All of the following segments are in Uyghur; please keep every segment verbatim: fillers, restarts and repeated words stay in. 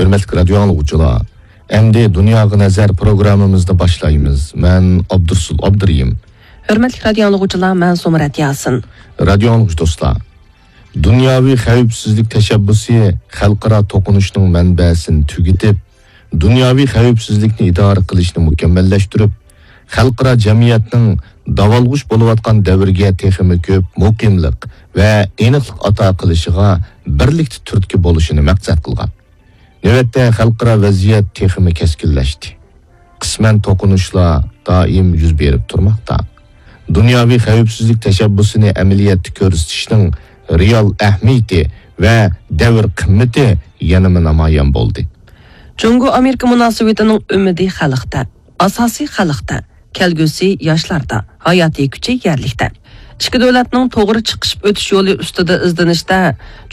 ھۆرمەتلىك رادىيو ئاڭلىغۇچىلار، ئەمدى دۇنياغا نەزەر پروگراممىمىزنى باشلايمىز. مەن ئابدۇرسۇل ئابدۇرېھىم. ھۆرمەتلىك رادىيو ئاڭلىغۇچىلار، مەن زۇمرەت ياسىن. رادىيو ئاڭلىغۇچى دوستلار، دۇنياۋى خەۋپسىزلىك تەشەببۇسى خەلقئارا توقۇنۇشنىڭ مەنبەسىنى تۈگىتىپ، دۇنياۋى خەۋپسىزلىكنى ئىدارە قىلىشنى مۇكەممەللەشتۈرۈپ، خەلقئارا جەمئىيەتنىڭ داۋالغۇش بولۇۋاتقان دەۋرگە تېخىمۇ كۆپ مۇقىملىق ۋە ئېنىقلىق ئاتا قىلىشىغا بىرلىكتە تۈرتكە بولۇشىنى مەقسەت قىلغان. نۆۋەتتە خەلقئارا ۋەزىيەت تېخىمۇ كەسكىنلەشتى. قىسمەن توقۇنۇشلار دائىم يۈز بېرىپ تۇرماقتا. دۇنياۋى خەۋپسىزلىك تەشەببۇسىنى ئەمەلىيەتتە كۆرسىتىشنىڭ رېئال ئەھمىيىتى ۋە دەۋر قىممىتى يەنىمۇ نامايان بولدى. جۇڭگو ئامېرىكا مۇناسىۋىتىنىڭ ئۈمىدى خەلقتە، ئاساسى خەلقتە، كەلگۈسى ياشلاردا، ھاياتىي كۈچى يەرلىكتە. ئىككى دۆلەتنىڭ توغرا چىقىشىپ ئۆتۈش يولى ئۈستىدە ئىزدىنىشتە،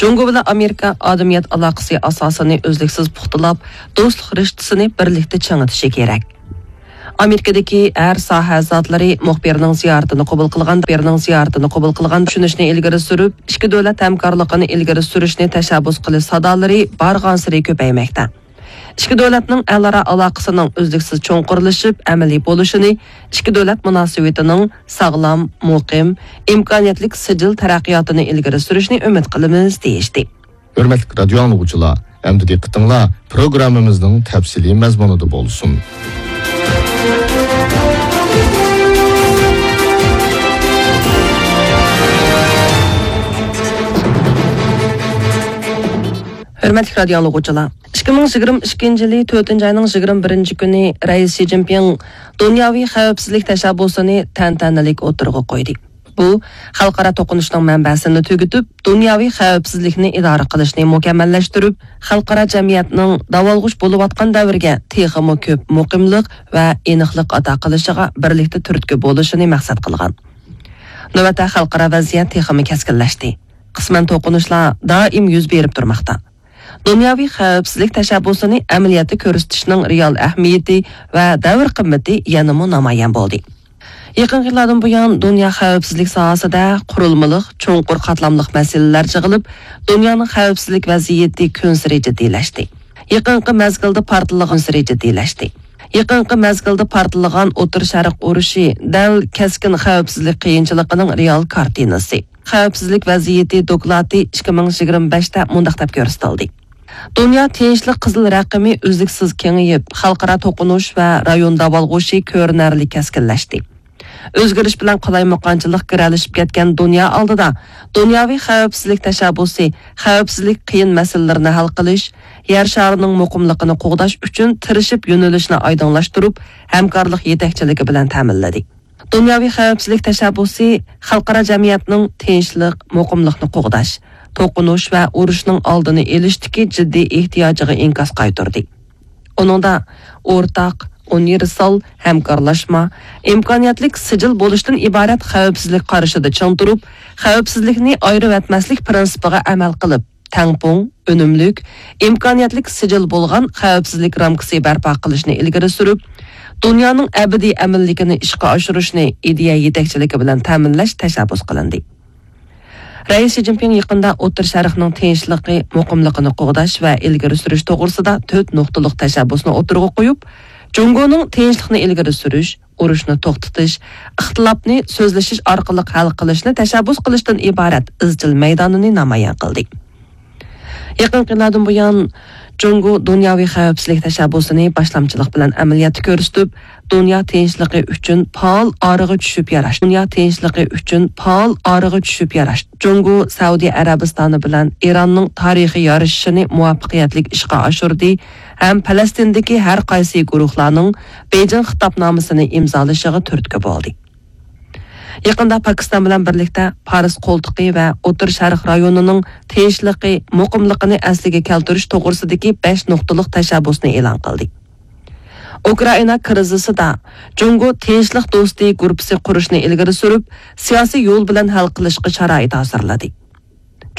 جۇڭگو بىلەن ئامېرىكا ئادەمىيەت ئالاقىسى ئاساسىنى ئۈزلۈكسىز پۇختىلاپ، دوستلۇق رىشتىسىنى بىرلىكتە چىڭىتىشى كېرەك. ئامېرىكىدىكى ھەر ساھە زاتلىرى مۇخبىرنىڭ زىيارىتىنى قوبۇل قىلغان، مۇخبىرنىڭ زىيارىتىنى قوبۇل قىلغان چۈشىنىشنى ئىلگىرى سۈرۈپ، ئىككى دۆلەت ھەمكارلىقىنى ئىلگىرى سۈرۈشنى تەشەببۇس قىلىش سادالىرى بارغانسېرى كۆپەيمەكتە. ئىككى دۆلەتنىڭ ئەلئارا ئالاقىسىنىڭ ئۈزلۈكسىز چوڭقۇرلىشىپ، ئەمەلىي بولۇشىنى، ئىككى دۆلەت مۇناسىۋىتىنىڭ ساغلام، مۇقىم، ئىمكانىيەتلىك سىجىل تەرەققىياتىنى ئىلگىرى سۈرۈشنى ئۈمىد قىلىمىز، دېيىشتى. ھۆرمەتلىك رادىيو ئاڭلىغۇچىلار، ئەمدى دىققىتىڭلار پروگراممىمىزنىڭ تەپسىلىي مەزمۇنىدا بولسۇن. ھۆرمەتلىك رادىيو ئاڭلىغۇچىلار، ئىككى مىڭ يىگىرمە ئىككىنچى يىلى تۆتىنچى ئاينىڭ يىگىرمە بىرىنچى كۈنى رەئىس شى جىنپىڭ دۇنياۋى خەۋپسىزلىك تەشەببۇسىنى تەنتەنىلىك ئوتتۇرىغا قويدى. بۇ خەلقئارا توقۇنۇشنىڭ مەنبەسىنى تۈگىتىپ، دۇنياۋى خەۋپسىزلىكنى ئىدارە قىلىشنى مۇكەممەللەشتۈرۈپ، خەلقئارا جەمئىيەتنىڭ داۋالغۇش بولۇۋاتقان دەۋرگە تېخىمۇ كۆپ مۇقىملىق ۋە ئېنىقلىق ئاتا قىلىشىغا بىرلىكتە تۈرتكە بولۇشىنى مەقسەت قىلغان. نۆۋەتتە خەلقئارا ۋەزىيەت تېخىمۇ كەسكىنلەشتى. قىسمەن توقۇنۇشلار دائىم يۈز بېرىپ تۇرماقتا. دۇنياۋى خەۋپسىزلىك تەشەببۇسىنى ئەمەلىيەتتە كۆرسىتىشنىڭ رېئال ئەھمىيىتى ۋە دەۋر قىممىتى يەنىمۇ نامايان بولدى. يېقىنقى يىللاردىن بۇيان، دۇنيا خەۋپسىزلىك ساھەسىدە قۇرۇلمىلىق، چوڭقۇر قاتلاملىق مەسىلىلەر يىغىلىپ، دۇنيانىڭ خەۋپسىزلىك ۋەزىيىتى كۈنسېرى جىددىيلەشتى. يېقىنقى مەزگىلدە پارتلىغان سېرى جىددىيلەشتى. يېقىنقى مەزگىلدە پارتلىغان ئوتتۇرا شەرق ئۇرۇشى دەل كەسكىن خەۋپسىزلىك قىيىنچىلىقىنىڭ رېئال كارتىنىسى. خەۋپسىزلىك ۋەزىيىتى دوكلاتى ئىككى مىڭ يىگىرمە بەشتە مۇنداق دەپ كۆرسىتىلدى: دۇنيا تىنچلىق قىزىل رەقىمى ئۈزلۈكسىز كېڭىيىپ، خەلقئارا توقۇنۇش ۋە رايون داۋالغۇشى كۆرۈنەرلىك كەسكىنلەشتى. ئۆزگىرىش بىلەن قالايمىقانچىلىق گىرەلىشىپ كەتكەن دۇنيا ئالدىدا، دۇنياۋى خەۋپسىزلىك تەشەببۇسى خەۋپسىزلىك قىيىن مەسىلىلىرىنى ھەل قىلىش، يەر شارىنىڭ مۇقىملىقىنى قوغداش ئۈچۈن تىرىشىپ يۆنىلىشنى ئايدىڭلاشتۇرۇپ، ھەمكارلىق يېتەكچىلىكى بىلەن تەمىنلىدى. دۇنياۋى خەۋپسىزلىك تەشەببۇسى خەلقئارا جەمئىيەتنىڭ تىنچلىق، مۇقىملىقنى قوغداش، توقۇنۇش ۋە ئۇرۇشنىڭ ئالدىنى ئېلىشتىكى جىددىي ئېھتىياجىغا ئىنكاس قايتۇردى. ئۇنىڭدا ئورتاق، ئۇنىۋېرسال، ھەمكارلاشما، ئىمكانىيەتلىك سىجىل بولۇشتىن ئىبارەت خەۋپسىزلىك قارىشىدا چىڭ تۇرۇپ، خەۋپسىزلىكنى ئايرىۋەتمەسلىك پىرىنسىپىغا ئەمەل قىلىپ، تەڭپۇڭ، ئۈنۈملۈك، ئىمكانىيەتلىك سىجىل بولغان خەۋپسىزلىك رامكىسى بەرپا قىلىشنى ئىلگىرى سۈرۈپ، دۇنيانىڭ ئەبەدىي ئەمىنلىكىنى ئىشقا ئاشۇرۇشنى ئىدىيە يېتەكچىلىكى بىلەن تەمىنلەش تەشەببۇس قىلىندى. رەئىس شى جىنپىڭ يېقىندا ئوتتۇرا شەرقنىڭ تىنچلىقى، مۇقىملىقىنى قوغداش ۋە ئىلگىرى سۈرۈش توغرىسىدا تۆت نۇقتىلىق تەشەببۇسنى ئوتتۇرىغا قويۇپ، جۇڭگونىڭ تىنچلىقنى ئىلگىرى سۈرۈش، ئۇرۇشنى توختىتىش، ئىختىلاپنى سۆزلىشىش ئارقىلىق ھەل قىلىشنى تەشەببۇس قىلىشتىن ئىبارەت ئىزچىل مەيدانىنى نامايان قىلدى. يېقىنقى يىللاردىن بۇيان، جۇڭگو دۇنياۋى خەۋپسىزلىك تەشەببۇسىنى باشلامچىلىق بىلەن ئەمەلىيەتتە كۆرسىتىپ، دۇنيا تىنچلىقى ئۈچۈن پائال ئارىغا چۈشۈپ ياراشتى. دۇنيا تىنچلىقى ئۈچۈن پائال ئارىغا چۈشۈپ ياراشتى. جۇڭگو سەئۇدى ئەرەبىستانى بىلەن ئىراننىڭ تارىخىي يارىشىشىنى مۇۋەپپەقىيەتلىك ئىشقا ئاشۇردى ھەم پەلەستىندىكى ھەر قايسى گۇرۇھلارنىڭ بېيجىڭ خىتابنامىسىنى ئىمزالىشىغا تۈرتكە بولدى. يېقىندا پاكىستان بىلەن بىرلىكتە پارس قولتۇقى ۋە ئوتتۇرا شەرق رايونىنىڭ تىنچلىقى، مۇقىملىقىنى ئەسلىگە كەلتۈرۈش توغرىسىدىكى بەش نۇقتىلىق تەشەببۇسنى ئېلان قىلدى. ئۇكرائىنا كىرىزىسىدا جۇڭگو تىنچلىق دوستى گۇرۇپپىسى قۇرۇشنى ئىلگىرى سۈرۈپ، سىياسىي يول بىلەن ھەل قىلىشقا شارائىت ھازىرلىدى.